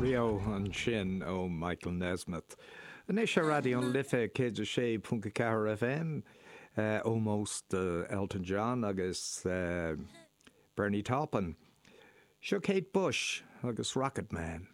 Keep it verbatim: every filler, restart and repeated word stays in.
Rio ansin ó Michael Nesmith. Anois ar Raidió na Life céad a sé ponc a ceathair FM ómós do Elton John agus uh, Bernie Taupin. Seo Kate Bush agus Rocket Man.